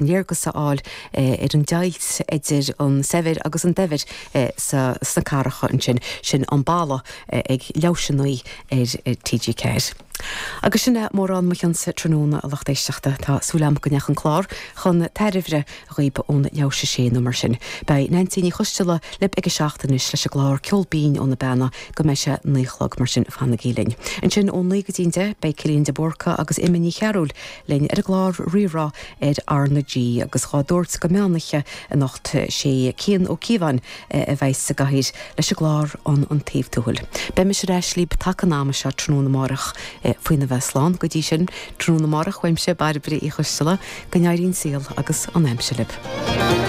Léargas a fháil ar an deighilt idir an saibhir agus an daibhir sna cathracha ansin. Sin An Balla ag leathuair tar éis a 9 ar TG4. Agus sin é mórán mo chionsa tráthnóna, a lucht éisteachta. Tá súil agam go ndeachaigh an clár chun tairbhe dhaoib ón leathuair tar éis a sé nó mar sin. Beidh Neansaí Ní Choisteala libh ag a 7 anois leis an gclár Ceol Binn ó na Beanna go mbeidh sé 9 a chlog, mar sin fanaigí linn. Ansin ó 9 go dtí an 10 beidh Cillian de Búrca agus Emma Ní Chearúil linn ar an gclár Rí-Rá ar R na G agus dhá dtabhairt go meánoíche anocht sé Cian Ó Cíobháin a bheidh sa gcathaoir leis an gclár An An Taobh Tuathail. Beidh mise ar ais libh taca an ama seo tráthnóna amárach faoina bheith slán. Go dtí sin, tráthnóna amárach uaimse, Bairbre Uí Choisteala, go n-éirí an saol agus an aimsir libh.